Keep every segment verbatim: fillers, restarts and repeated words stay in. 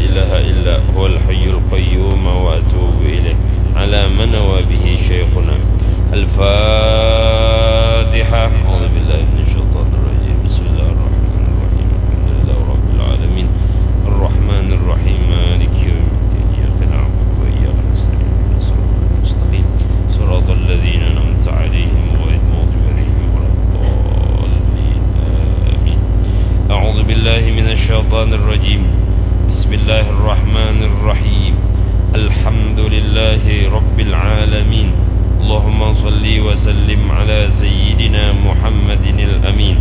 إله إلا هو الحي القيوم وأتوب إليه. على ما نوى به شيخنا. الفاتحة. أعوذ بالله من الشيطان الرجيم. بسم الله الرحمن الرحيم. الحمد لله رب العالمين. الرحمن الرحيم. مالك يوم الدين. إياك نعبد وإياك نستعين. اهدنا الصراط المستقيم. صراط الذين أنعمت عليهم غير المغضوب عليهم ولا الضالين. آمين. أعوذ بالله من الشيطان الرجيم. بسم الله الرحمن الرحيم. الحمد لله رب العالمين. اللهم صل وسلم على سيدنا محمد الأمين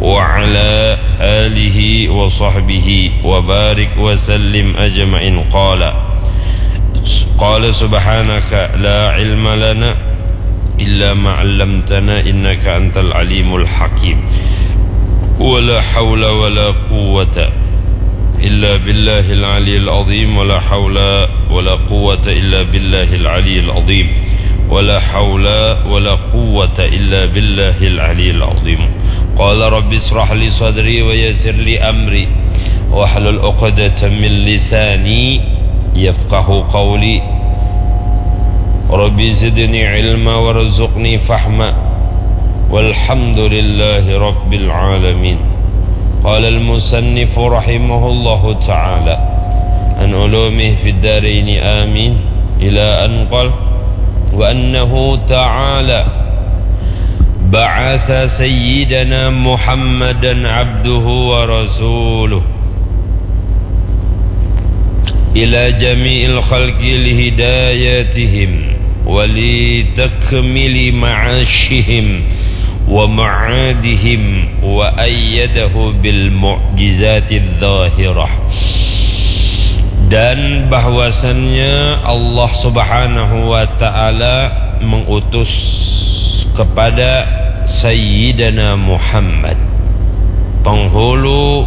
وعلى آله وصحبه وبارك وسلم أجمعين. قال، قال سبحانك لا علم لنا إلا ما علمتنا إنك أنت العليم الحكيم. ولا حول ولا قوة إلا بالله العلي العظيم. ولا حول ولا قوة إلا بالله العلي العظيم. ولا حول ولا قوة إلا بالله العلي العظيم. قال رب اشرح لي صدري ويسر لي أمري واحلل عقدة من لساني يفقه قولي. رب زدني علما وارزقني فهما. والحمد لله رب العالمين. قال المصنف رحمه الله تعالى عن علومه في الدارين آمين إلى أن قال وأنه تعالى بعث سيدنا محمدا عبده ورسوله إلى جميع الخلق لهدايتهم ولتكميل معاشهم ومعادهم وأيده بالمعجزات الظاهرة. Dan bahwasannya Allah Subhanahu wa Ta'ala mengutus kepada Sayyidina Muhammad, penghulu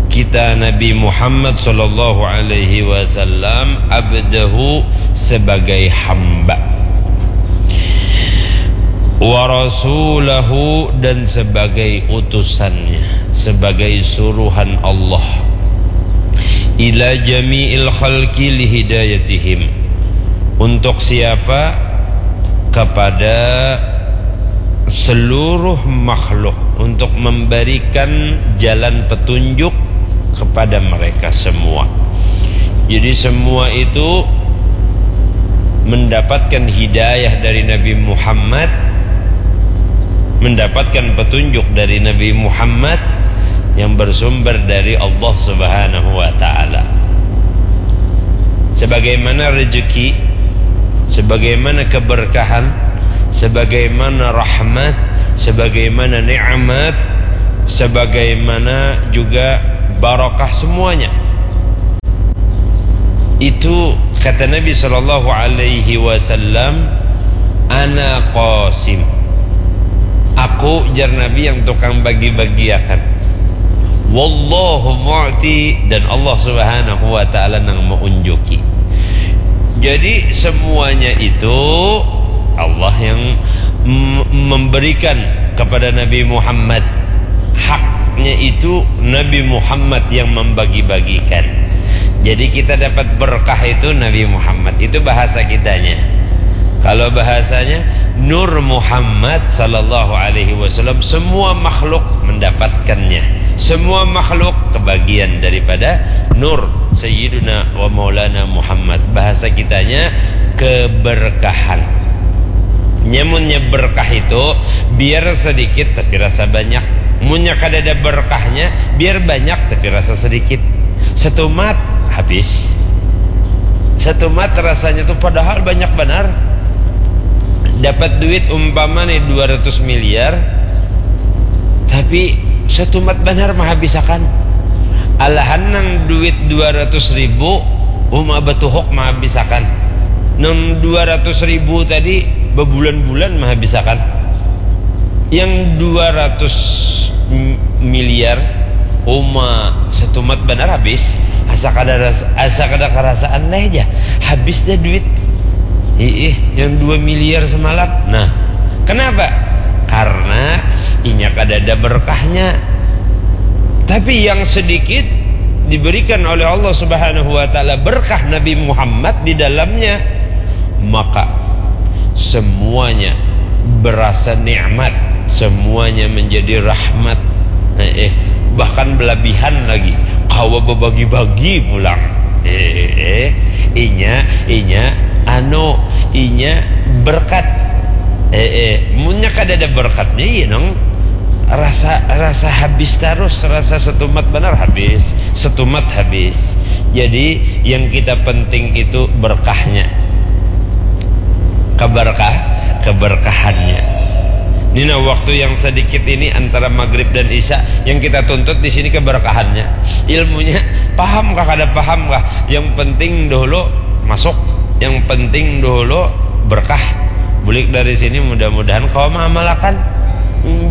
kita Nabi Muhammad sallallahu alaihi wasallam, abdahu, sebagai hamba, wa rasulahu, dan sebagai utusannya, sebagai suruhan Allah, ila jami'il khalqi lihidayatihim, untuk siapa? Kepada seluruh makhluk, untuk memberikan jalan petunjuk kepada mereka semua. Jadi semua itu mendapatkan hidayah dari Nabi Muhammad, mendapatkan petunjuk dari Nabi Muhammad yang bersumber dari Allah Subhanahu wa Ta'ala. Sebagaimana rezeki, sebagaimana keberkahan, sebagaimana rahmat, sebagaimana nikmat, sebagaimana juga barakah, semuanya itu, kata Nabi sallallahu alaihi wasallam, "Ana qasim." Aku, jar Nabi, yang tukang bagi-bagiakan. "Wallahu mu'ti," dan Allah Subhanahu wa Ta'ala nang meunjuki. Jadi semuanya itu Allah yang m-, memberikan kepada Nabi Muhammad. Haknya itu Nabi Muhammad yang membagi-bagikan. Jadi kita dapat berkah itu Nabi Muhammad. Itu bahasa kitanya. Kalau bahasanya, Nur Muhammad sallallahu alaihi wasallam, semua makhluk mendapatkannya. Semua makhluk kebagian daripada Nur Sayyiduna wa Maulana Muhammad. Bahasa kitanya, keberkahan. Nyamunnya berkah itu, biar sedikit tapi rasa banyak. Munnya kadada berkahnya, biar banyak tapi rasa sedikit. Setumat, habis. Setumat rasanya tuh padahal banyak banar. Dapat duit umpama nih dua ratus miliar, tapi setumat banar mahabisakan. Alahan nang duit dua ratus ribu, uma batuhuk mahabisakan. Nang dua ratus ribu tadi, babulan-bulan mahabisakan. Yang dua ratus m-, miliar, uma setumat banar habis. Asa kada ras-, asa kada karasaan leh ja. Habis dah duit. Iih, yang dua miliar semalam. Nah, kenapa? Karena inya kadada berkahnya. Tapi yang sedikit, diberikan oleh Allah Subhanahu wa taala berkah Nabi Muhammad di dalamnya, maka semuanya berasa nikmat, semuanya menjadi rahmat. Eh, eh, bahkan belabihan lagi, kawa bebagi-bagi pulang. Eh, eh, eh, inya, inya, anu, inya berkat. Eh, eh, munnya kada ada berkatnya, iya nang rasa, rasa habis terus, rasa setumat benar habis, setumat habis. Jadi yang kita penting itu berkahnya, keberkah, keberkahannya. Ini nah, waktu yang sedikit ini antara maghrib dan isya, yang kita tuntut di sini keberkahannya. Ilmunya paham kah, kada paham kah? Yang penting dahulu masuk, yang penting dahulu berkah. Bulik dari sini, mudah-mudahan kawa mengamalkan.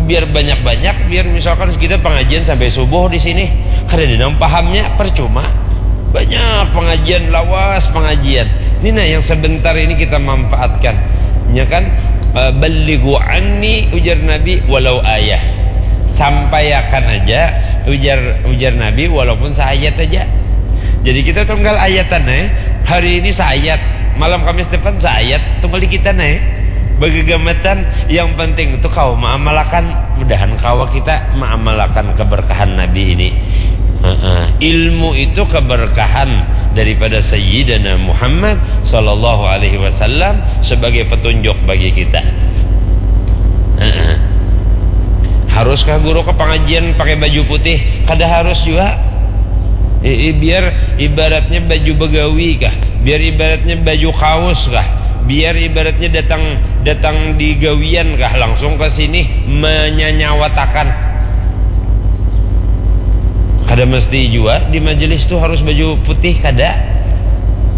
Biar banyak-banyak, biar misalkan kita pengajian sampai subuh di sini, kada ada nang pahamnya, percuma. Banyak pengajian, lawas pengajian. Ini nah, yang sebentar ini kita manfaatkan. Ya kan? Eh, "Ballighu anni," ujar Nabi, "walau ayah." Sampaiakan aja, ujar, ujar Nabi, walaupun seayat aja. Jadi kita tunggal ayatan, eh. Hari ini seayat, malam Kamis depan seayat, tunggal di kita, eh. Begegamatan, yang penting itu kawa mengamalkan. Mudahan kawa kita mengamalkan keberkahan Nabi ini. Heeh. Ilmu itu keberkahan daripada Sayyidina Muhammad sallallahu alaihi wasallam sebagai petunjuk bagi kita. Heeh. Haruskah guru ke pengajian pakai baju putih? Kada harus juga. I- i- biar ibaratnya baju begawi kah? Biar ibaratnya baju kaos kah? Biar ibaratnya datang, datang di gawian kah, langsung ke sini menyanyawatakan. Kada mesti jua di majelis tu harus baju putih, kada.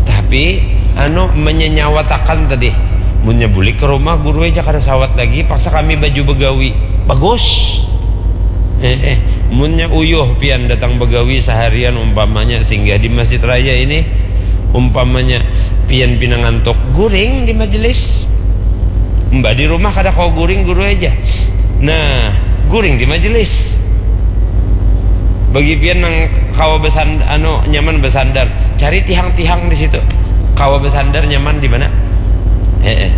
Tapi, anu, menyanyawatakan tadi. Munnya bulik ke rumah, guru aja kada sawat lagi, paksa kami baju begawi. Bagus. Eh, eh, munnya uyuh pian datang begawi seharian, umpamanya singgah di masjid raya ini, umpamanya pian pina ngantuk, guring di majelis. Mbah di rumah kada kawa guring, guru aja. Nah, guring di majelis. Bagi pian nang kawa besan-, anu, nyaman besandar, cari tihang-tihang di situ. Kawa besandar nyaman di mana? Heeh.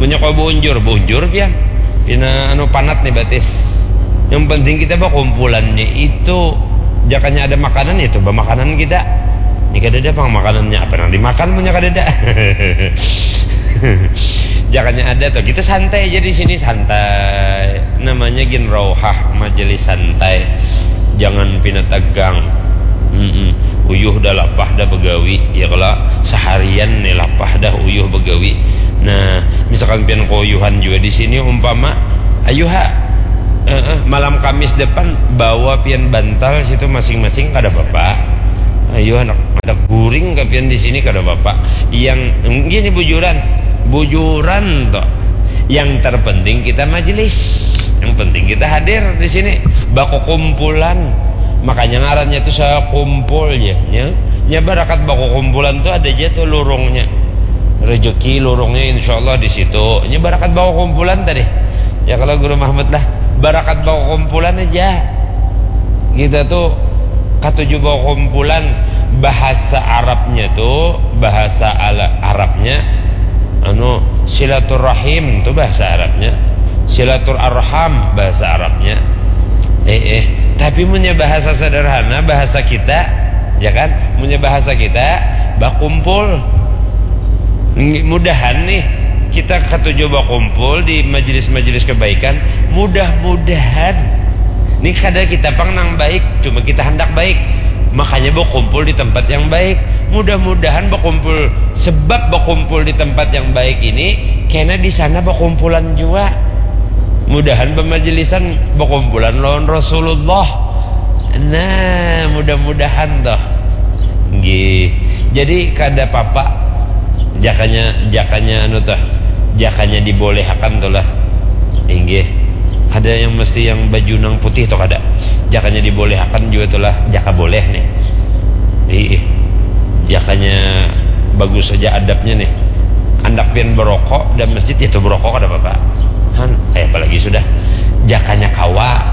Munnya kawa beunjur, beunjur pian. Pina, anu, panat nih batis. Yang penting kita bakumpulannya itu, jakanya ada makanan, ya coba makanan kita. Ini kadada pang makanannya, apa nang dimakan munnya kadada? Jakanya ada tuh, kita santai aja di sini, santai. Namanya gin rauhah, majelis santai. Jangan pina tegang. Mm-mm. Uyuh dah lapah dah begawi, ya kalo, seharian nih lapah dah uyuh begawi. Nah, misalkan pian keuyuhan juga di sini, umpama, ayu ha, eh, eh, malam Kamis depan bawa pian bantal situ masing-masing, kada apa-apa. Ayu handak, handak guring ka pian di sini, kada apa-apa. Yang, gini, bujuran, bujuran toh. Yang terpenting kita majelis. Yang penting kita hadir di sini. Bakukumpulan. Makanya ngarannya tu sakumpul, ya. Nya, nya barakat bakukumpulan tu ada ja tu lurungnya. Rezeki lurungnya, insya Allah, di situ. Nya barakat bakukumpulan tadi. Ya, kalau Guru Mahmud lah, barakat bakukumpulan aja. Kita tu katuju bakukumpulan. Bahasa Arabnya tu, bahasa ala-, Arabnya, anu, silaturahim tu bahasa Arabnya. Silaturarham bahasa Arabnya. Eh, eh. Tapi munnya bahasa sederhana, bahasa kita, ya kan? Munnya bahasa kita, bakumpul. Ng-, mudahan nih, kita katuju bakumpul di majelis-majelis kebaikan. Mudah-mudahan. Nih, kada kita pang nang baik, cuma kita handak baik. Makanya bakumpul di tempat yang baik. Mudah-mudahan bakumpul, sebab bakumpul di tempat yang baik ini, kena di sana bakumpulan jua. Mudahan bamajelisan bakumpulan lawan Rasulullah. Nah, mudah-mudahan toh. Nggih. Jadi kada papa. Jakanya, jakanya anu toh. Jakanya dibolehakan tuh lah. Inggih. Kada yang mesti yang baju nang putih toh, kada. Jakanya dibolehakan jua tuh lah. Jaka boleh nih. Ih, ih. Jakanya bagus saja adabnya nih. Andak pian berokok dan masjid, ya tuh berokok kada apa-apa. Han, eh, apalagi sudah. Jakanya kawa.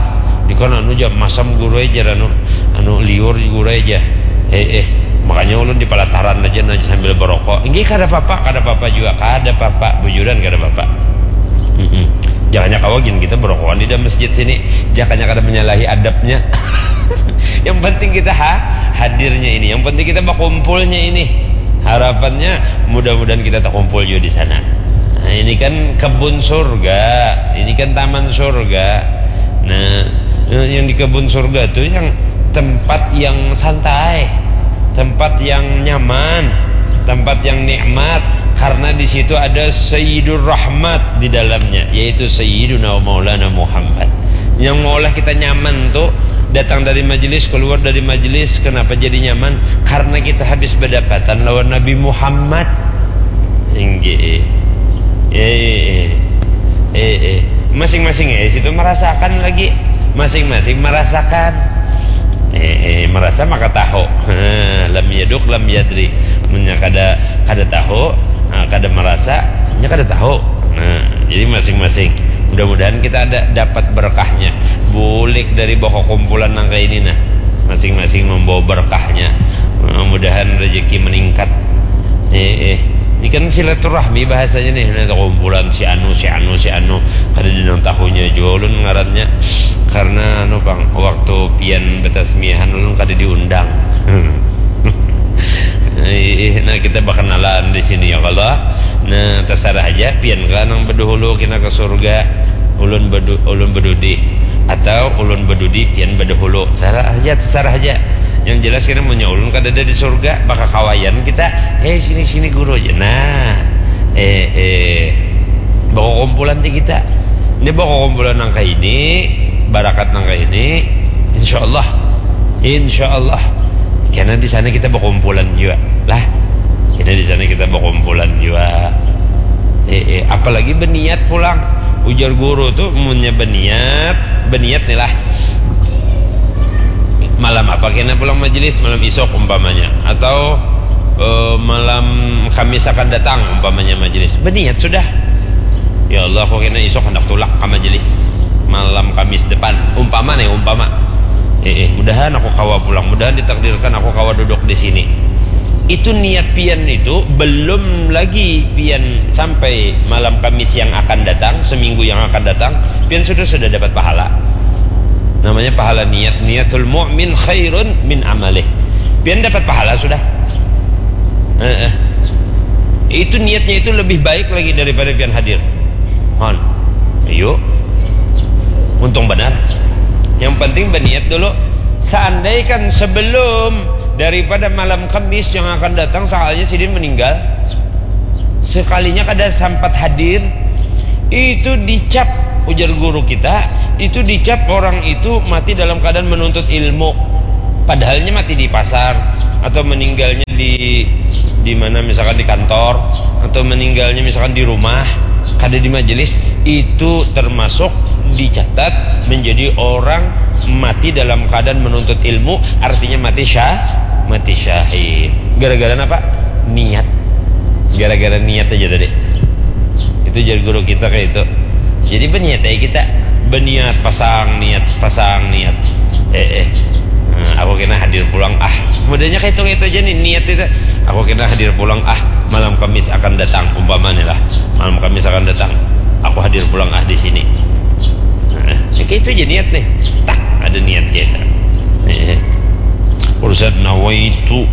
Di kono anu jam masam guru aja anu. Anu liur gura aja. Eh, eh, makanya ulun di pelataran aja nah sambil berokok. Inggih, kada apa-apa, kada apa-apa juga, kada apa-apa, bujuran kada apa-apa. Mm-mm. Jakanya kawa gin kita berokokan di dalam masjid sini. Jakanya kada menyalahi adabnya. Yang penting kita ha, hadirnya ini. Yang penting kita berkumpulnya ini. Harapannya mudah-mudahan kita terkumpul juga di sana. Nah, ini kan kebun surga, ini kan taman surga. Nah, yang di kebun surga tuh yang tempat yang santai, tempat yang nyaman, tempat yang nikmat, karena di situ ada Sayyidur Rahmat di dalamnya, yaitu Sayyiduna Maulana Muhammad. Yang maulah kita nyaman tuh datang dari majelis, keluar dari majelis, kenapa jadi nyaman? Karena kita habis berdapatan lawan Nabi Muhammad. Inggih. Eh, eh, eh, eh. Masing-masing eh situ merasakan lagi. Masing-masing merasakan. Eh, eh, merasa maka tahu. Ha, lam yaduk lam yadri. Munnya kada, kada tahu, ha, kada merasa, nya kada tahu. Nah, jadi masing-masing. Mudah-mudahan kita ada dapat berkahnya. Bulik dari boko kumpulan nang kayak ini nah. Masing-masing membawa berkahnya. Mudah-mudahan rezeki meningkat. Eh, eh. Ini kan silaturahmi bahasanya nih, nah, kumpulan si anu, si anu, si anu. Kada ada nang tahunya jua ulun ngarannya. Karena anu pang, waktu pian betasmiahan ulun kada diundang. Eh, eh, nah, kita berkenalan di sini ya Allah. Nah, terserah aja pian kah nang berdahulu kena ke surga, ulun bedu, ulun bedudi, atau ulun bedudi pian berdahulu. Terserah aja, terserah aja. Yang jelas kena munnya ulun kada ada di surga, bakakawayan kita. Hei, sini, sini guru aja. Nah, eh, eh, bakukumpulan di kita. Ini bakukumpulan nang kayak ini, barakat nang kayak ini, insya Allah, insya Allah. Karena di sana kita bakumpulan juga lah. Karena di sana kita bakumpulan juga. Eh, eh, apalagi berniat pulang. Ujar guru tuh, munnya berniat, berniat nih lah. Malam apa kena pulang majelis? Malam isok umpamanya, atau eh, malam Kamis akan datang umpamanya majelis. Berniat sudah. Ya Allah, aku kena isok hendak tulak ke majelis malam Kamis depan. Umpama nih, umpama. Eh, eh, mudahan aku kawa pulang, mudahan ditakdirkan aku kawa duduk di sini. Itu niat pian itu belum lagi pian sampai malam Kamis yang akan datang, seminggu yang akan datang, pian sudah, sudah dapat pahala. Namanya pahala niat, niatul mu'min khairun min amalih. Pian dapat pahala sudah. Eh, eh. Itu niatnya itu lebih baik lagi daripada pian hadir. Hon. Ayo. Untung benar. Yang penting berniat dulu. Seandaikan sebelum daripada malam Kamis yang akan datang, sakalnya sidin meninggal, sekalinya kada sempat hadir, itu dicap, ujar guru kita, itu dicap orang itu mati dalam keadaan menuntut ilmu. Padahalnya mati di pasar atau meninggalnya di di mana, misalkan di kantor, atau meninggalnya misalkan di rumah, kada di majelis, itu termasuk dicatat menjadi orang mati dalam keadaan menuntut ilmu, artinya mati syah, mati syahid. Gara-gara apa? Niat. Gara-gara niat aja tadi. Itu jar guru kita kayak itu. Jadi berniat aja kita. Berniat, pasang niat, pasang niat. Eh, eh. Nah, aku kena hadir pulang ah. Modelnya kayak itu, kayak itu aja nih niat itu. Aku kena hadir pulang ah. Malam Kamis akan datang, umpama nih lah. Malam Kamis akan datang. Aku hadir pulang ah di sini. Nah, ya kayak itu aja niat nih. Tak ada niat kita. Eh. Urusan nawaitu,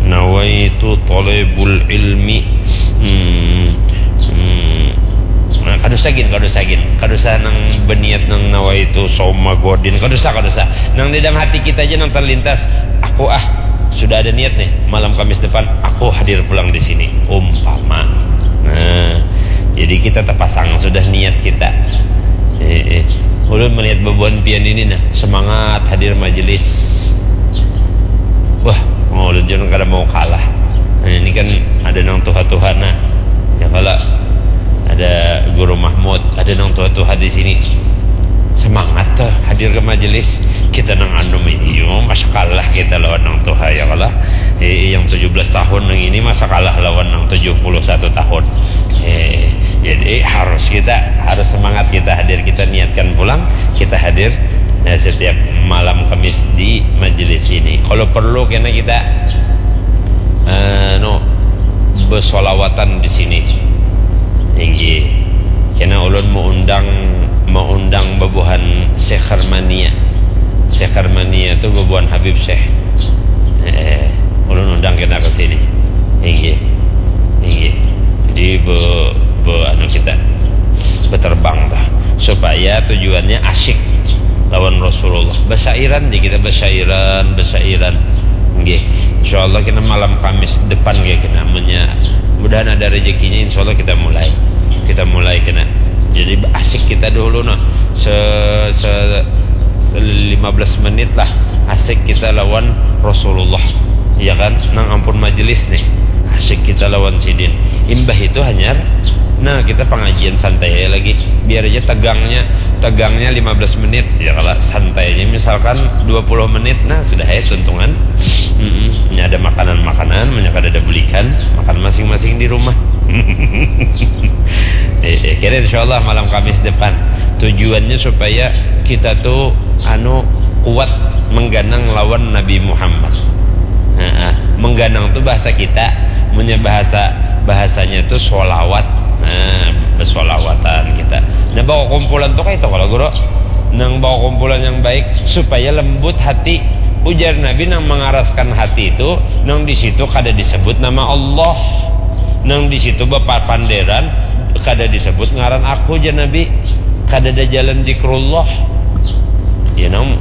nawaitu talibul ilmi. Hmm. Hmm. Nah, kada usah gin, kada usah gin. Kada usah nang berniat nang nawaitu sauma godin. Kada usah, kada usah. Nang di dalam hati kita aja nang terlintas. Aku ah, sudah ada niat nih. Malam Kamis depan aku hadir pulang di sini. Umpama. Nah, jadi kita terpasang sudah niat kita. Eh, eh. Ulun melihat bebuan pian ini nah, semangat hadir majelis. Wah, mau ulun jangan kada mau kalah. Nah, ini kan ada nang tuha-tuha nah. Ya kalau ada Guru Mahmud, ada nang tuha-tuha di sini. Semangat tuh hadir ke majelis. Kita nang anu ini, yo, masa kalah kita lawan nang tuha ya kalah. Eh, yang tujuh belas tahun nang ini masa kalah lawan nang tujuh puluh satu tahun. Eh, jadi harus kita, harus semangat kita hadir, kita niatkan pulang, kita hadir Nah, setiap malam Kamis di majelis ini, kalau perlu kena kita, eh, no, bersolawatan di sini. Inggih. Kena ulun mau undang, mau undang babuhan Syekh Armania. Syekh Armania tu babuhan Habib Syekh. Eh, ulun undang kena ke sini. Inggih. Inggih. Jadi be, be anu kita beterbang lah, supaya tujuannya asyik lawan Rasulullah. Besyairan di kita, besyairan, besyairan. Inggih. Insyaallah kita malam Kamis depan kayak kena, munya mudahan ada rezekinya, insyaallah kita mulai. Kita mulai kena. Jadi asyik kita dulu nah. Se, se lima belas menit lah, asyik kita lawan Rasulullah, ya kan? Nang ampun majelis nih, asyik kita lawan sidin. Imbah itu hanyar, nah, kita pengajian santai aja lagi. Biar aja tegangnya, tegangnya lima belas menit, ya kalau santai aja, misalkan dua puluh menit, nah, sudah aja tuntungan. Mm-mm. Ini ada makanan-makanan, banyak ada, ada bulikan, makan masing-masing di rumah. Eh, eh, kira insyaallah malam Kamis depan. Tujuannya supaya kita tuh anu kuat mengganang lawan Nabi Muhammad. Nah, mengganang tuh bahasa kita, punya bahasa, bahasanya tuh solawat. Nah, bersolawatan kita. Nah, bawa kumpulan tuh kayak itu kalau guru. Nang bawa kumpulan yang baik supaya lembut hati. Ujar Nabi, nang mengaraskan hati itu nang di situ kada disebut nama Allah. Nang di situ bapapanderan kada disebut ngaran aku, jar Nabi. Kada ada jalan zikrullah. Iya nang,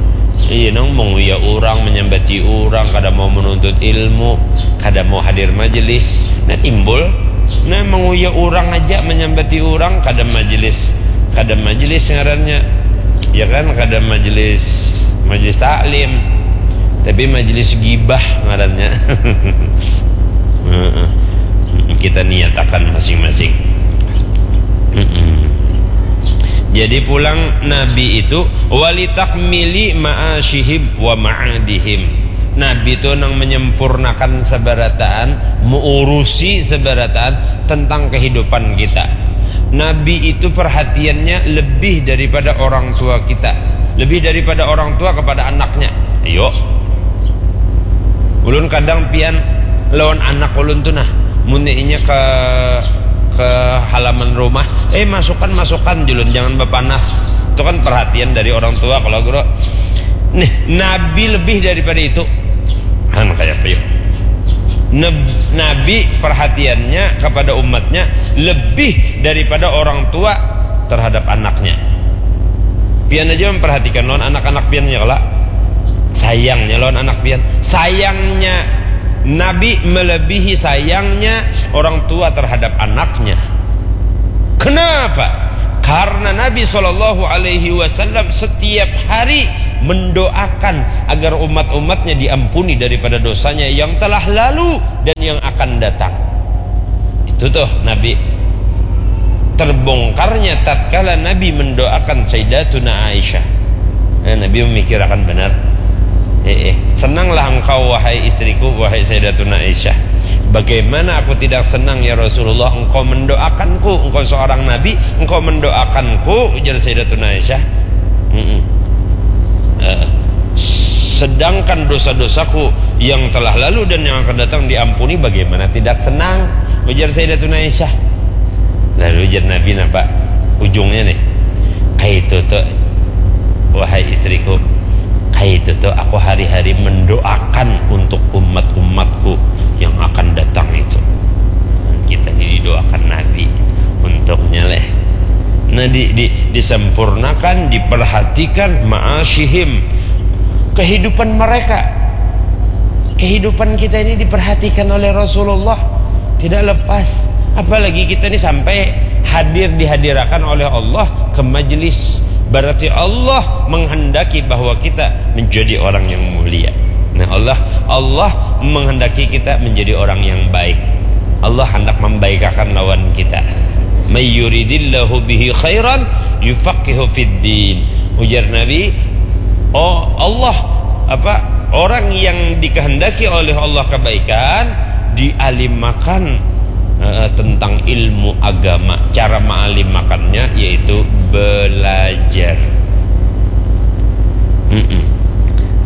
iya nang menguya orang, menyambati orang, kada mau menuntut ilmu, kada mau hadir majelis. Nah, timbul. Nah, menguya orang aja, menyambati orang, kada majelis, kada majelis ngarannya. Ya kan, kada majelis, majelis taklim. Tapi majelis gibah ngarannya. Heeh. Kita niatakan masing-masing. Mm-mm. Jadi pulang Nabi itu walitakmili ma'asyihim wa ma'adihim. Nabi itu nang menyempurnakan seberataan, mengurusi seberataan tentang kehidupan kita. Nabi itu perhatiannya lebih daripada orang tua kita, lebih daripada orang tua kepada anaknya. Ayo, ulun kadang pian lawan anak ulun tuh nah, munnya inya ke ke halaman rumah, eh, masukkan, masukkan, julun, jangan bapanas. Itu kan perhatian dari orang tua kalau guru. Nih, Nabi lebih daripada itu. Kan kayak apa yuk? Nab- Nabi perhatiannya kepada umatnya lebih daripada orang tua terhadap anaknya. Pian aja memperhatikan lawan anak-anak pian ya kala. Sayangnya lawan anak pian. Sayangnya Nabi melebihi sayangnya orang tua terhadap anaknya. Kenapa? Karena Nabi Shallallahu Alaihi Wasallam setiap hari mendoakan agar umat-umatnya diampuni daripada dosanya yang telah lalu dan yang akan datang. Itu tuh Nabi. Terbongkarnya tatkala Nabi mendoakan Sayyidatuna Aisyah. Nah, Nabi memikirakan benar. Eh, eh. Senanglah engkau, wahai istriku, wahai Sayyidatuna Aisyah. Bagaimana aku tidak senang, ya Rasulullah, engkau mendoakanku, engkau seorang Nabi, engkau mendoakanku, ujar Sayyidatuna Aisyah. Mm-mm. Eh, sedangkan dosa-dosaku yang telah lalu dan yang akan datang diampuni, bagaimana tidak senang, ujar Sayyidatuna Aisyah. Lalu ujar Nabi, napa ujungnya nih? Kaitu tuh, wahai istriku, kaitu tuh aku hari-hari mendoakan untuk umat-umatku yang akan datang itu. Kita ini didoakan Nabi untuknya leh. Nah, di, di, disempurnakan, diperhatikan ma'asyihim, kehidupan mereka. Kehidupan kita ini diperhatikan oleh Rasulullah, tidak lepas. Apalagi kita ini sampai hadir, dihadirakan oleh Allah ke majelis. Berarti Allah menghendaki bahwa kita menjadi orang yang mulia. Nah, Allah, Allah menghendaki kita menjadi orang yang baik. Allah hendak membaikakan lawan kita. May yuridillahu bihi khairan yufaqihu fid din. Ujar Nabi, oh Allah, apa, orang yang dikehendaki oleh Allah kebaikan, dialimakan, eh, tentang ilmu agama. Cara maalimakannya yaitu belajar.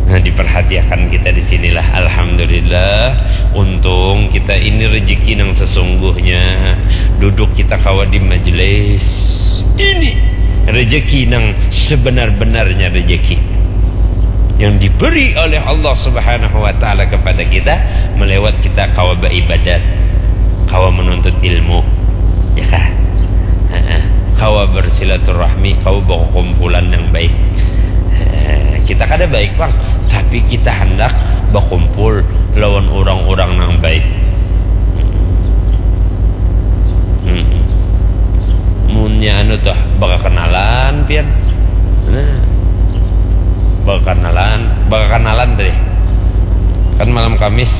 Nah, diperhatiakan kita di sinilah. Alhamdulillah, untung kita ini rezeki nang sesungguhnya. Duduk kita kawa di majelis ini, rezeki nang sebenar-benarnya rezeki yang diberi oleh Allah Subhanahu wa Ta'ala kepada kita, melewat kita kawa beribadat, kawa menuntut ilmu, ya kah? Heeh. Kawa bersilaturahmi, kawa berkumpulan yang baik. Eh, kita kada baik, Bang, tapi kita hendak berkumpul lawan orang-orang yang baik. Hmm. Munnya anu tuh, bakakenalan pian. Nah, bakakenalan, bakakenalan tadi. Kan malam Kamis,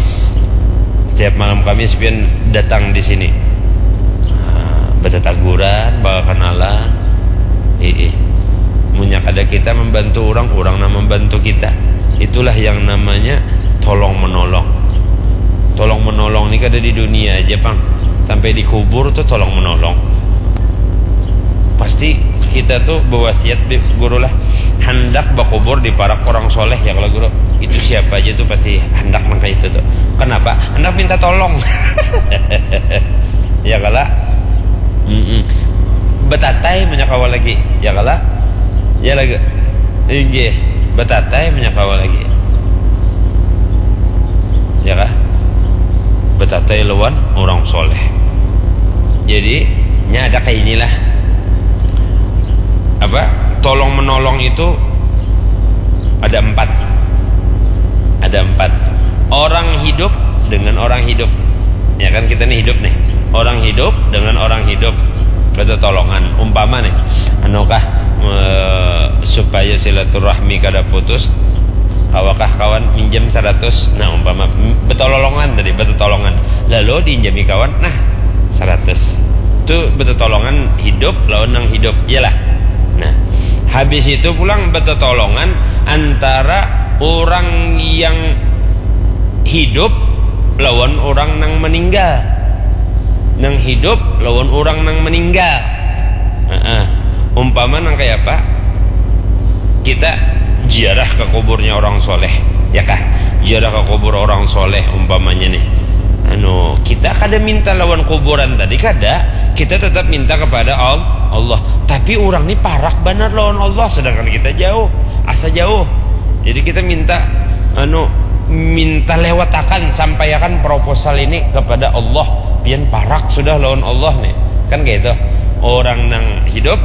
setiap malam Kamis pian datang di sini. Nah, bertataguran, bakakenalan. Ih, ih. Munnya kada kita membantu orang, orang nang membantu kita. Itulah yang namanya tolong menolong. Tolong menolong ni kada di dunia aja, Pang. Sampai di kubur tuh tolong menolong. Pasti kita tuh berwasiat, Bi-, Guru lah, hendak bakubur di parak orang soleh, ya kalau Guru. Itu siapa aja tuh pasti hendak nang kayak itu tuh. Kenapa? Hendak minta tolong. Ya kala? Mm-mm. Betatai punya kawa lagi, ya kala? Ya lagi. Inggih, betatai punya kawa lagi. Ya kah? Betatai lawan orang soleh. Jadi, nya ada kayak inilah. Apa? Tolong menolong itu ada empat. Ada empat. Orang hidup dengan orang hidup. Ya kan, kita nih hidup nih. Orang hidup dengan orang hidup. Bertolongan. Umpama nih, anu kah, eh, supaya silaturahmi kada putus, kawakah kawan minjam seratus? Nah, umpama, m-, betololongan tadi, betolongan. Lalu diinjami kawan, nah, seratus. Tu betolongan hidup lawan nang hidup, iyalah. Nah, habis itu pulang betolongan antara orang yang hidup lawan orang nang meninggal. Nang hidup lawan orang nang meninggal. Heeh. Umpama nang kayak apa? Kita ziarah ke kuburnya orang soleh, ya kah? Ziarah ke kubur orang soleh umpamanya nih. Anu, kita kada minta lawan kuburan tadi, kada. Kita tetap minta kepada Al-, Allah. Tapi orang ni parak banar lawan Allah, sedangkan kita jauh, asa jauh. Jadi kita minta, anu, minta lewatakan, sampaiakan proposal ini kepada Allah. Pian parak sudah lawan Allah nih. Kan kayak itu. Orang nang hidup,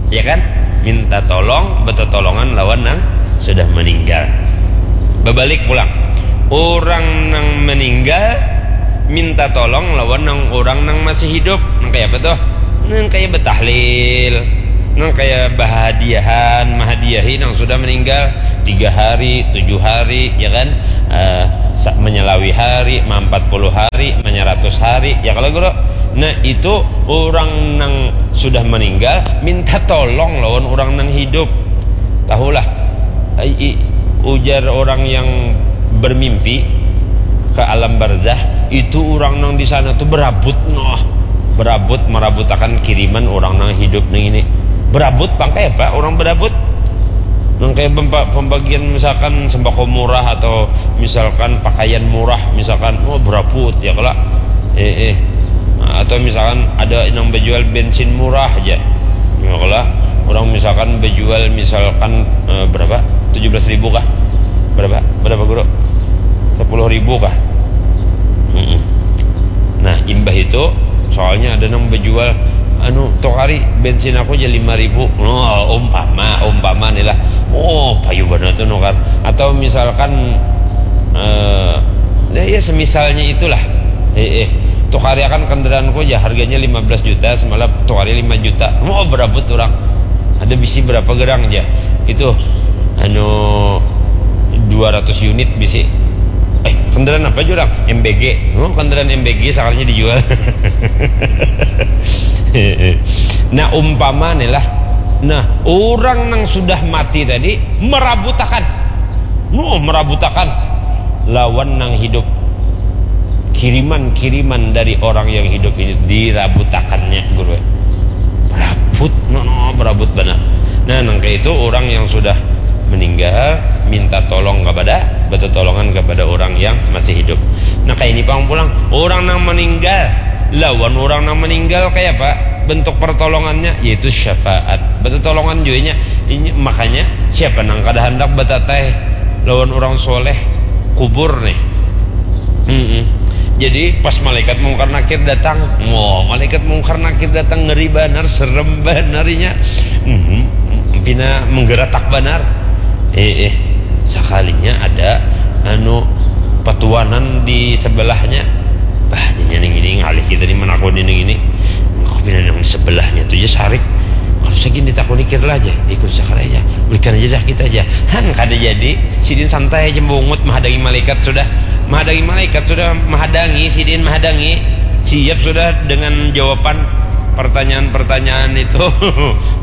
ya kan, minta tolong, betolongan lawan nang sudah meninggal. Bebalik pulang. Orang nang meninggal minta tolong lawan nang orang nang masih hidup. Nang kayak apa tuh? Nang kayak betahlil, nang kayak bahadiahan, mahadiahi nang sudah meninggal tiga hari, tujuh hari, ya kan? Eh, sa-, menyelawi hari, empat puluh hari, menyeratus hari, ya kalau Guru. Nah, itu orang nang sudah meninggal minta tolong lawan orang nang hidup. Tahulah, ai, i-, ujar orang yang bermimpi ke alam barzah, itu orang nang di sana tuh berabut, noh. Berabut, merabutakan kiriman orang nang hidup nang ini. Berabut, pang kayak apa orang berabut? Nang kayak pemba-, pembagian misalkan sembako murah atau misalkan pakaian murah, misalkan, oh, berabut, ya kala. Eh, eh. Nah, atau misalkan ada nang berjual bensin murah aja. Ya kala, orang misalkan berjual misalkan, eh, berapa? Tujuh belas ribu kah? Berapa? Berapa, Guru? Sepuluh ribu kah? Mm-mm. Nah, imbah itu, soalnya ada nang berjual, anu, "Tukari bensin aku aja lima ribu." Oh, umpama, umpama nih lah. Oh, payu banar tuh nukar. Atau misalkan, eh, ya, ya, semisalnya itulah. Eh, eh, "Tukari akan kendaraanku aja, harganya lima belas juta, semalam tukari lima juta." Oh, berabut orang. Ada bisi berapa gerang aja. Itu, anu, dua ratus unit bisi. Eh, kendaraan apa jurang? M B G. Oh, kendaraan M B G sakalinya dijual. Nah, umpama nih lah. Nah, orang nang sudah mati tadi merabutakan. Nuh, merabutakan lawan nang hidup. Kiriman-kiriman dari orang yang hidup ini dirabutakannya, Guru. Berabut, no, no, berabut banar. Nah, nang kayak itu orang yang sudah Meninggal, minta tolong kepada, betetolongan kepada orang yang masih hidup. Nah, kayak ini pang pulang, orang nang meninggal lawan orang nang meninggal kayak apa? Bentuk pertolongannya yaitu syafaat. Betetolongan juanya. Ini makanya siapa nang kada hendak betatai lawan orang soleh kubur nih. Mm-mm. Jadi pas malaikat mungkar nakir datang, wah, malaikat mungkar nakir datang ngeri banar, serem banar inya. Mhm. Pina menggeratak banar. Eh, eh. Sekalinya ada anu patuanan di sebelahnya. Bah, jadinya ning ini ngalih kita nih menakuni ning ini. Kau pina nang sebelahnya tuh ya sarik. Kalau segini ditakuni kira lah aja, ikut sakar aja. Berikan aja dah kita aja. Han, kada jadi. Sidin santai aja bungut, mahadangi malaikat sudah. Mahadangi malaikat sudah, mahadangi, sidin mahadangi. Siap sudah dengan jawaban pertanyaan-pertanyaan itu.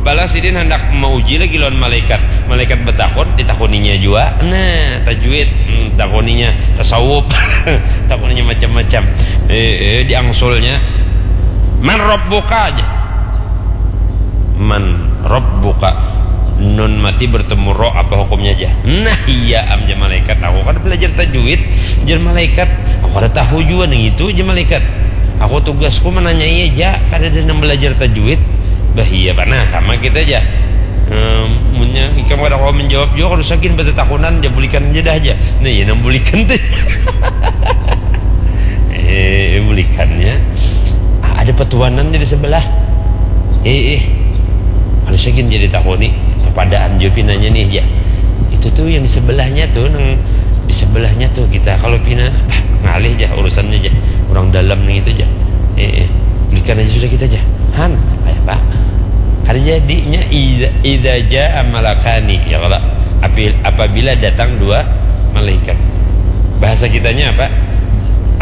Balas sidin hendak mauji lagi lawan malaikat. Malaikat betakun, ditakuninya jua. Nah, tajwid, hmm, takuninya tasawuf. Takuninya macam-macam. Eh, eh, diangsulnya. Man rabbuka aja. Man rabbuka. Nun mati bertemu ro apa hukumnya aja? Nah, iya am, jar malaikat. Aku kan belajar tajwid, jar malaikat. Aku kada tahu jua nang itu, jar malaikat. Aku tugasku menanyai aja, kada ada nang belajar tajwid. Bah, iya, nah, sama kita aja. Em, munnya ikam kada kawa menjawab jua, kada usah gin betetakunan, ja bulikan aja dah, ja. Nah, iya nang bulikan tuh. Eh, bulikannya. Ah, ada petuanan di sebelah. Eh, eh. Kada usah gin jadi takuni. Padaan jua pinanya nih, ja. Itu tuh yang di sebelahnya tuh, nang di sebelahnya tuh kita. Kalau pina, ah, ngalih ja urusannya ja. Orang dalam nih itu ja. Eh, eh. Bulikan aja sudah kita ja. Han, kayak apa? Kada jadinya idza, idza jaa malakani, ya kalau api-, apabila datang dua malaikat. Bahasa kitanya apa?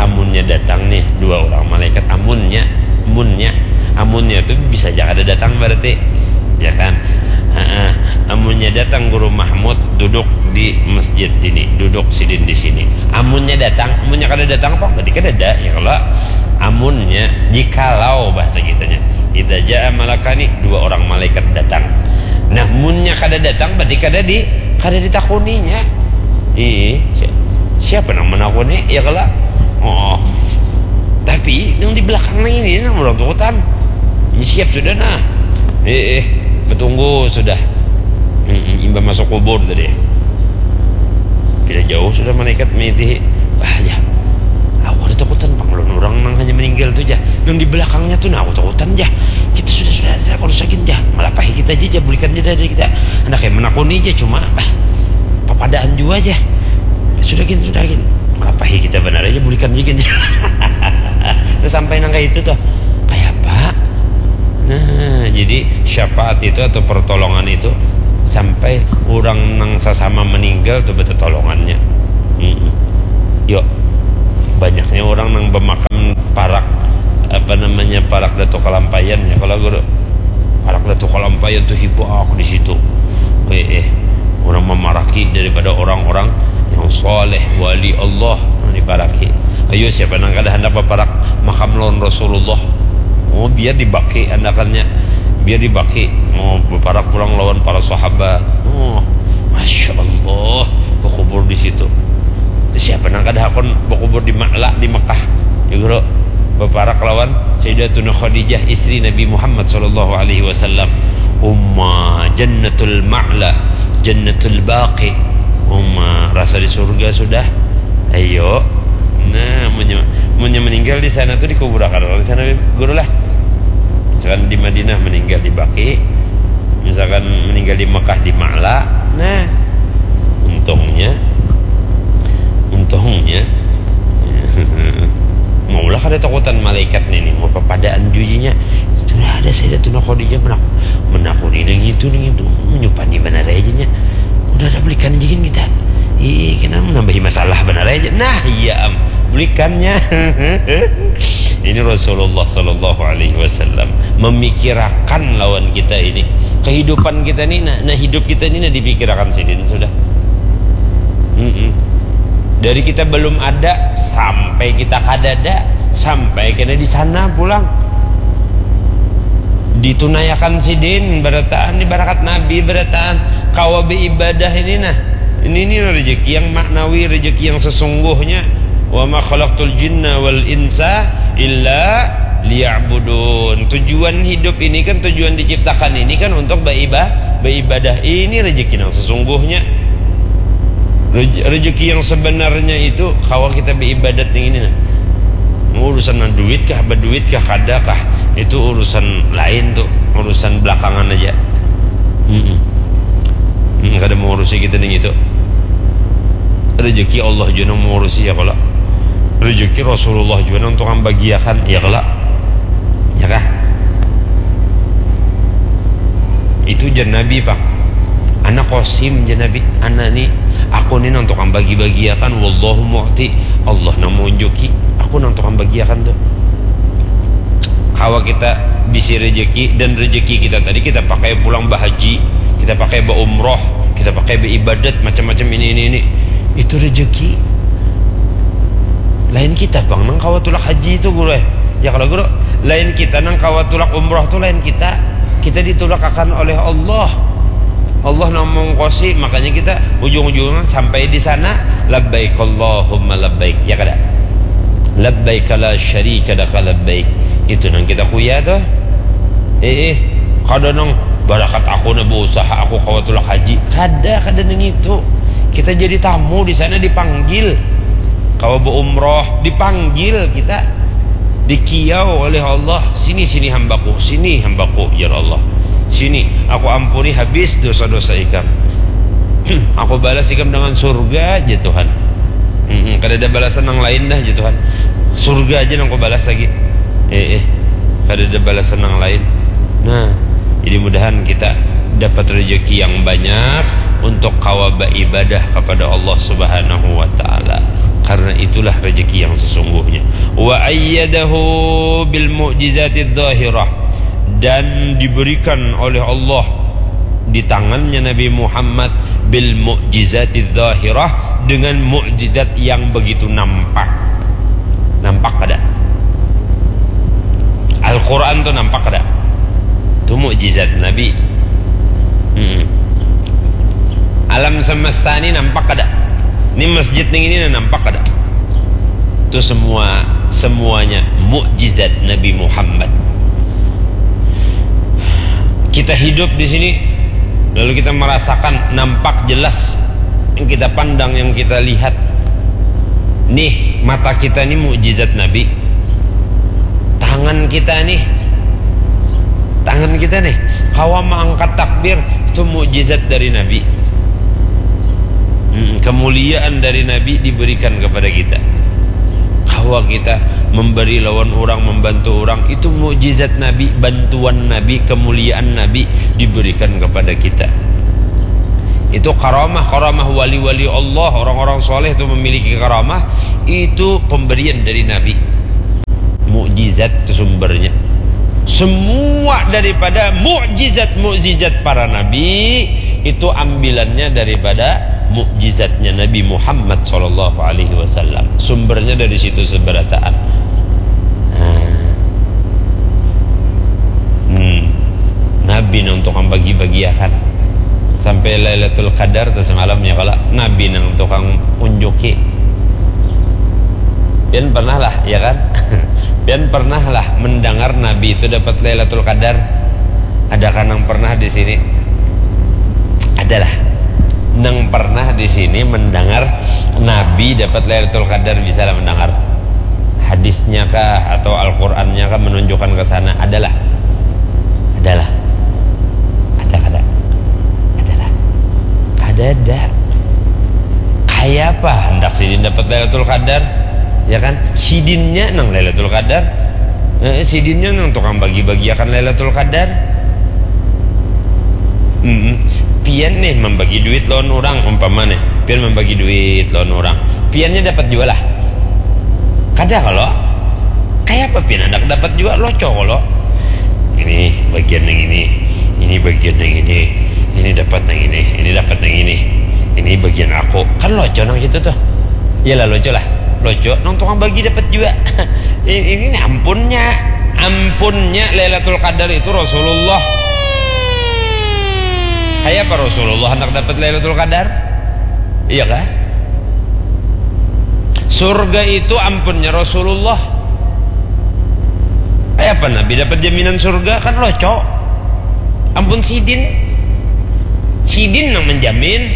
Amunnya datang nih dua orang malaikat, amunnya, munnya, amunnya itu bisa aja kada datang berarti, ya kan? Heeh. Amunnya datang Guru Mahmud duduk di masjid ini, duduk sidin di sini. Amunnya datang, amunnya kada datang apa? Berarti kada ada, ya kalau amunnya, jikalau bahasa kitanya. Idza jaa malakani, dua orang malaikat datang. Nah, munnya kada datang, berarti kada di, kada ditakuninya. Ih, si-, siapa nang menakuni? Ya kalau, oh, tapi yang di belakang nang ini nang orang tukutan. Ini siap sudah nah. Eh, eh, betunggu sudah. Mm-mm, imbah masuk kubur tadi. Bila jauh sudah malaikat mengitihi. Wah, ya. Aku ada takutan pang lawan orang nang hanya meninggal tu ja. Nang di belakangnya tu nah aku takutan ja. Kita sudah, sudah, sudah, kada usah gin ja. Malapahi kita aja ja, bulikan ja dari kita. Anak yang menakuni ja cuma, bah, papadaan jua ja. Sudah gin, sudah gin. Malapahi kita banar aja, bulikan ja gin. Nah, sampai nang kayak itu tuh. Kayak apa? Nah, jadi syafaat itu atau pertolongan itu sampai orang nang sasama meninggal tuh betetolongannya. Mm-mm. Yo, banyaknya orang nang bemakan parak, apa namanya, parak Datu Kalampayan ya kalau guru. Parak Datu Kalampayan tuh hibak di situ. Eh, eh, orang memaraki daripada orang-orang yang soleh, wali Allah, yang diparaki. Ayo, siapa nang kada hendak berparak makam lawan Rasulullah? Oh, biar dibaki andakannya, biar dibaki. Oh, berparak pulang lawan para sahabat. Oh, masya Allah, berkubur di situ. Siapa nang kada hakun berkubur di Ma'la di Mekah? Ya, guru, berparak lawan Sayyidatuna Khadijah, istri Nabi Muhammad sallallahu alaihi wasallam. Umma Jannatul Ma'la, Jannatul Baqi. Umma rasa di surga sudah. Ayo. Nah, munnya, munnya meninggal di sana tuh dikuburakan orang di sana, guru lah. Misalkan di Madinah meninggal di Baqi, misalkan meninggal di Mekah di Ma'la. Nah, untungnya, untungnya, maulah kada takutan malaikat nih, nih, mau papadaan jujinya. Itu ada Sayyidatuna Khadijah menak-, menakuni nang itu, nang itu. Menyupani banar aja nya. Udah ada bulikan aja gin kita. Ih, kena menambahi masalah banar aja. Nah, iya am. Bulikannya. Ini Rasulullah sallallahu alaihi wasallam memikirakan lawan kita ini. Kehidupan kita ini, nah, nah, hidup kita ini nah dipikirakan sidin sudah. Mm-mm. Dari kita belum ada sampai kita kadada, sampai kena di sana pulang. Ditunaiakan sidin barataan, ni barakat Nabi barataan, kawa baibadah ini nah. Ini ni rejeki yang maknawi, rejeki yang sesungguhnya. Wa ma khalaqtul jinna wal insa illa liya'budun. Tujuan hidup ini kan, tujuan diciptakan ini kan untuk baiba-, baibadah. Ini rejeki yang sesungguhnya. Rej-, rejeki yang sebenarnya itu kawa kita baibadat yang ini nah. Urusan duit kah, baduit kah, kada kah, itu urusan lain tuh, urusan belakangan aja. Mm-mm. Mm, kada mengurusi kita nih gitu. Rezeki Allah jua nang mengurusi, ya kalo? Rezeki Rasulullah jua nang tukang bagiakan, ya kalo? Ya kah? Itu jar Nabi, Pak. Ana Qasim, jar Nabi. Ana ni, aku ni nang tukang bagi-bagiakan, wallahu mu'ti. Allah nang maunjuki. Aku nang tukang bagiakan tuh. Kawa kita bisi rejeki, dan rejeki kita tadi kita pakai pulang bahaji, kita pakai baumroh, kita pakai baibadat, macam-macam ini, ini, ini. Itu rejeki. Lain kita, Bang, nang kawa tulak haji itu, Guru, eh. Ya kalo, Guru, lain kita nang kawa tulak umroh tuh, lain kita. Kita ditulakakan oleh Allah. Allah nang mongkosi, makanya kita ujung-ujungnya sampai di sana, labbaik Allahumma labbaik, ya kada? Labbaik la syarika laka labbaik. Itu nang kita kuya tuh. Eh, eh, kada nang barakat aku nah berusaha aku kawa tulak haji. Kada, kada nang itu. Kita jadi tamu di sana, dipanggil. Kawa beumroh, dipanggil kita. Dikiau oleh Allah, "Sini, sini hambaku, sini hambaku, ya Allah. Sini, aku ampuni habis dosa-dosa ikam. Aku balas ikam dengan surga aja, Tuhan. Mm-mm, kada ada balasan yang lain dah aja, Tuhan. Surga aja nang aku balas lagi. Eh, eh, kada ada balasan yang lain." Nah, jadi mudahan kita dapat rezeki yang banyak untuk kawa beribadah kepada Allah Subhanahu wa Ta'ala. Karena itulah rezeki yang sesungguhnya. Wa ayyadahu bil mu'jizatid zahirah, dan diberikan oleh Allah di tangannya Nabi Muhammad bil mu'jizatid zahirah, dengan mukjizat yang begitu nampak. Nampak kada? Al-Quran tu nampak kada? Tu mukjizat Nabi. Mm-mm. Alam semesta ni nampak kada? Ni masjid ning ini nampak kada? Itu semua, semuanya mukjizat Nabi Muhammad. Kita hidup di sini, lalu kita merasakan nampak jelas, yang kita pandang, yang kita lihat. Nih, mata kita nih mukjizat Nabi. Tangan kita nih, tangan kita nih, kawa mengangkat takbir, itu mukjizat dari Nabi. Hmm, kemuliaan dari Nabi diberikan kepada kita. Kawa kita memberi lawan orang, membantu orang, itu mukjizat Nabi, bantuan Nabi, kemuliaan Nabi diberikan kepada kita. Itu karamah, karamah wali-wali Allah, orang-orang soleh itu memiliki karamah, itu pemberian dari Nabi. Mukjizat itu sumbernya. Semua daripada mukjizat-mukjizat para nabi itu ambilannya daripada mukjizatnya Nabi Muhammad sallallahu alaihi wasallam. Sumbernya dari situ seberataan. Nah. Hmm. Nabi nang tukang bagi-bagiakan. Sampai Lailatul Qadar tu semalam ya kalo, Nabi nang tukang unjuki. Pian pernah lah, ya kan? Pian pernah lah mendengar Nabi itu dapat Lailatul Qadar? Adakah nang pernah di sini? Adalah. Nang pernah di sini mendengar Nabi dapat Lailatul Qadar, bisa lah mendengar hadisnya kah atau Al-Qur'annya kah menunjukkan ke sana? Adalah. Adalah. Ada kada? Adalah. Kada ada. Kaya apa hendak sidin dapat Lailatul Qadar? Ya kan? Sidinnya nang Lailatul Qadar. Eh, sidinnya nang tukang bagi-bagiakan Lailatul Qadar. Mm-mm. Pian nih membagi duit lawan orang, umpama nih. Pian membagi duit lawan orang. Piannya dapat jua lah. Kada kalo? Kaya apa pian handak dapat jua, loco kalo? Ini bagian yang ini, ini bagian yang ini, ini dapat yang ini, ini dapat yang ini, ini bagian aku. Kan loco nang situ tuh. Iyalah loco lah. Loco, nang tukang bagi dapat jua. Ini, ini ampunnya. Ampunnya Lailatul Qadar itu Rasulullah. Kaya apa Rasulullah handak dapat Lailatul Qadar? Iya kah? Surga itu ampunnya Rasulullah. Kaya apa Nabi dapat jaminan surga? Kan loco. Ampun sidin. Sidin nang menjamin.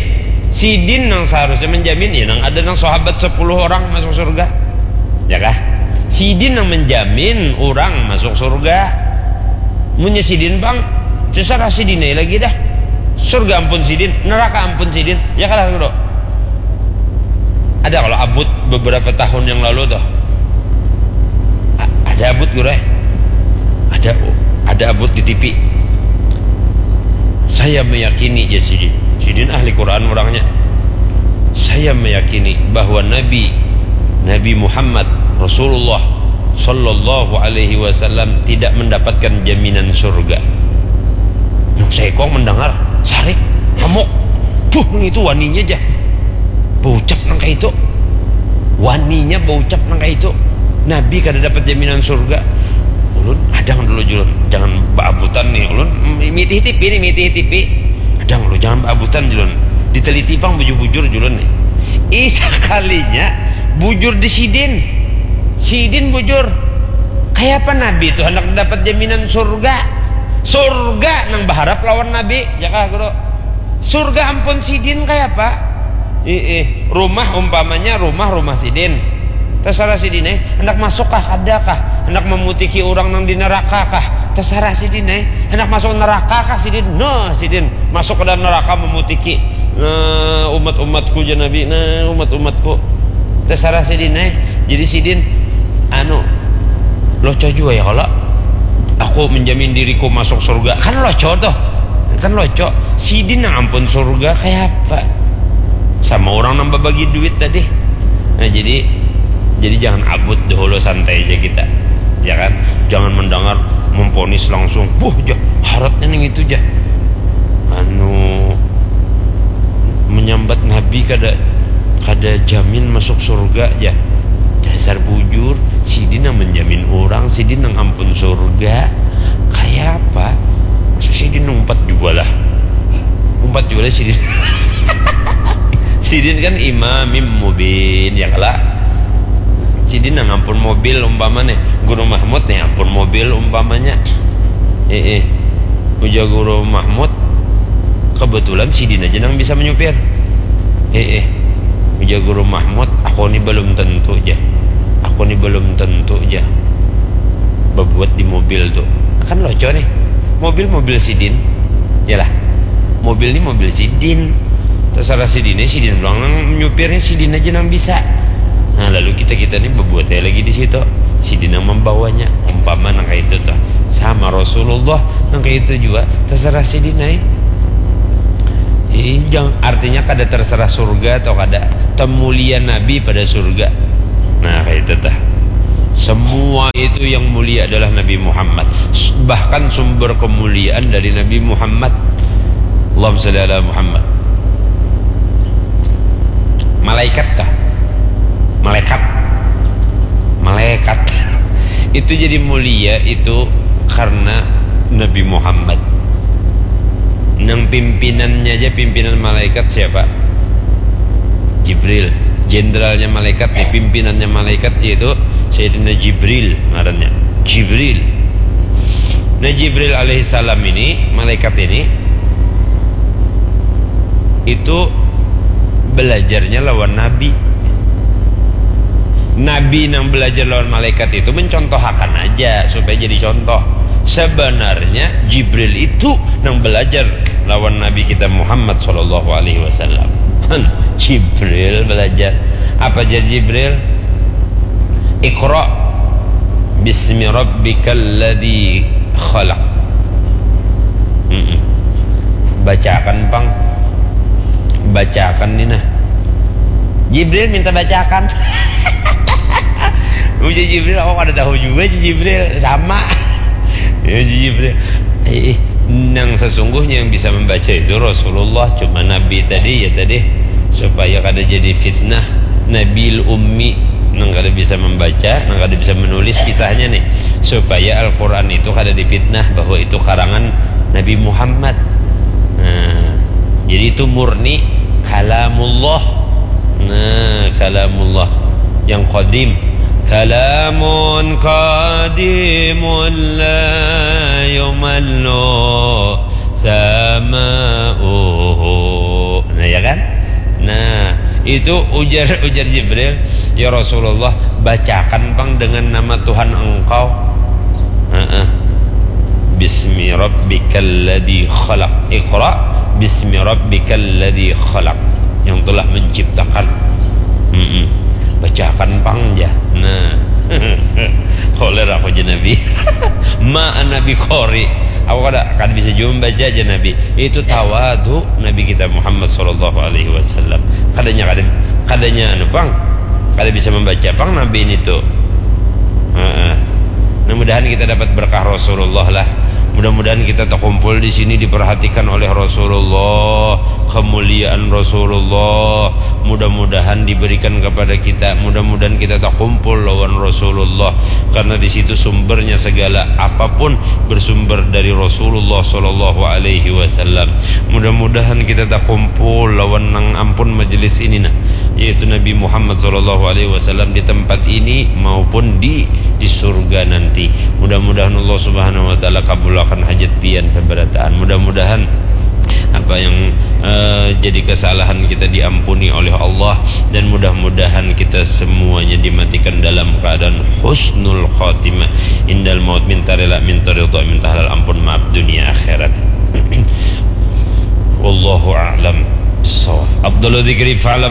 Sidin nang seharusnya menjamin. Ya, nang ada nang sahabat sepuluh orang masuk surga. Ya kah? Sidin nang menjamin orang masuk surga. Munnya sidin pang, terserah sidin ai lagi dah. Surga ampun sidin, neraka ampun sidin. Ya kalah, Guru? Ada kalau abut beberapa tahun yang lalu tuh. A- ada abut, Guru, eh? Ada, ada abut di T V. Saya meyakini, ya, sidin. Sidin ahli Quran orangnya. Saya meyakini bahwa Nabi, Nabi Muhammad, Rasulullah sallallahu alaihi wasallam tidak mendapatkan jaminan surga. Nang seekong mendengar, sarik, hamuk. Buh, nang itu waninya jah. Baucap nang kayak itu. Waninya baucap nang kayak itu. Nabi kada dapat jaminan surga. Ulun hadang dulu, Julun. Jangan baabutan nih, Ulun. Mitih T V nih, mitih T V. Hadang lu, jangan baabutan, Julun. Diteliti pang bujur-bujur, Julun nih. Ih, sakalinya bujur di sidin. Sidin bujur. Kayak apa Nabi itu hendak dapat jaminan surga? Surga nang berharap lawan Nabi, ya kah, Guru? Surga ampun sidin kayak apa? Ih, ih, rumah umpamanya rumah, rumah sidin. Terserah sidin, eh. Hendak masuk kah, kada kah? Hendak memutiki orang nang di neraka kah? Terserah sidin, eh. Hendak masuk neraka kah sidin? No, sidin. Masuk ke dalam neraka memutiki. Nah, umat-umatku, jar Nabi. Nah, umat-umatku. Terserah sidin, eh. Jadi sidin, anu, loco juga ya kalau aku menjamin diriku masuk surga. Kan loco tuh. Kan loco. Sidin nang ampun surga kayak apa? Sama orang nang babagi duit tadi. Nah, jadi, jadi jangan abut dahulu, santai aja kita. Ya kan? Jangan mendengar, memponis langsung. Buh, jah, haratnya ning itu, jah. Anu, menyambat Nabi kada, kada jamin masuk surga, ya. Dasar bujur, sidin nang menjamin orang, sidin nang ampun surga. Kayak apa? Masa sidin umpat juga lah. Umpat juga lah sidin. Sidin kan imamim mubin, ya kala? Sidin nang ampun mobil umpama nih. Guru Mahmud nih ampun mobil umpamanya. Eh, eh. Ujar Guru Mahmud, kebetulan sidin aja nang bisa menyupir. Eh, eh. Ujar Guru Mahmud, aku ni belum tentu, ja. Aku ni belum tentu, ja. Bebuat di mobil tuh. Kan loco nih. Mobil, mobil sidin. Yalah. Mobil ni mobil sidin. Terserah sidin, sidin pulang nang nyupirnya, sidin aja nang bisa. Nah, lalu kita-kita ni bebuat aja lagi di situ. Sidin yang membawanya. Umpama nang kayak itu tuh. Sama Rasulullah nang kayak itu juga. Terserah sidin, ai. Ini jang-, artinya kada terserah surga atau kada. Temulia Nabi pada surga. Nah, kayak itu tuh. Semua itu yang mulia adalah Nabi Muhammad. S-, bahkan sumber kemuliaan dari Nabi Muhammad. Allahumma shalli ala Muhammad. Malaikat kah? Malaikat. Malaikat. Itu jadi mulia itu karena Nabi Muhammad. Nang pimpinannya aja, pimpinan malaikat siapa? Jibril. Jenderalnya malaikat nih, pimpinannya malaikat yaitu Sayyidina Jibril ngarannya. Jibril. Nah, Jibril alaihissalam ini, malaikat ini, itu belajarnya lawan Nabi. Nabi nang belajar lawan malaikat itu mencontohakan aja supaya jadi contoh. Sebenarnya Jibril itu nang belajar lawan Nabi kita Muhammad sallallahu alaihi wasallam. Han, Jibril belajar. Apa jar Jibril? Iqra bismi rabbikal ladzi khalaq. Mm-mm. Bacakan, pang. Bacakan ni nah. Jibril minta bacakan. Ujar Jibril, aku kada tahu juga, Jibril. Sama. Ya, Jibril. Eh, eh, nang sesungguhnya yang bisa membaca itu Rasulullah, cuma Nabi tadi, ya tadi, supaya kada jadi fitnah. Nabil Ummi. nang kada bisa membaca, nang kada bisa menulis kisahnya nih, supaya Al-Quran itu kada dipitnah bahwa itu karangan Nabi Muhammad. Nah, jadi itu murni kalamullah. Nah, kalamullah yang qadim. Kalamun qadimun la yumallu sama'uhu. Nah, ya kan? Nah, itu ujar ujar Jibril, "Ya Rasulullah, bacakan pang dengan nama Tuhan engkau." Heeh. "Bismi rabbikal ladzi khalaq. Iqra bismi rabbikal ladzi khalaq." Yang telah menciptakan. Mm-mm. Bacakan pang ja. Nah. Koler aku ja Nabi. Ma Nabi qori. Aku kada kada bisa juga membaca aja Nabi. Itu tawadu Nabi kita Muhammad sallallahu alaihi wasallam. Kadanya kada kadanya anu pang. Kada bisa membaca pang Nabi ini tuh. Heeh. Nah, mudahan kita dapat berkah Rasulullah lah. Mudah-mudahan kita terkumpul di sini diperhatikan oleh Rasulullah, kemuliaan Rasulullah. Mudah-mudahan diberikan kepada kita. Mudah-mudahan kita terkumpul lawan Rasulullah, karena di situ sumbernya segala apapun bersumber dari Rasulullah sallallahu alaihi wasallam. Mudah-mudahan kita terkumpul lawan nang ampun majelis ini nah, yaitu Nabi Muhammad sallallahu alaihi wasallam di tempat ini maupun di di surga nanti. Mudah-mudahan Allah Subhanahu wa taala kabulakan hajat pian sabarataan. Mudah-mudahan apa yang eh, jadi kesalahan kita diampuni oleh Allah, dan mudah-mudahan kita semuanya dimatikan dalam keadaan husnul khatimah, indal maut, minta rela, minta ridha, minta halal ampun, maaf dunia akhirat. Wallahu a'lam bissawab. Afdalu dzikri fa'lam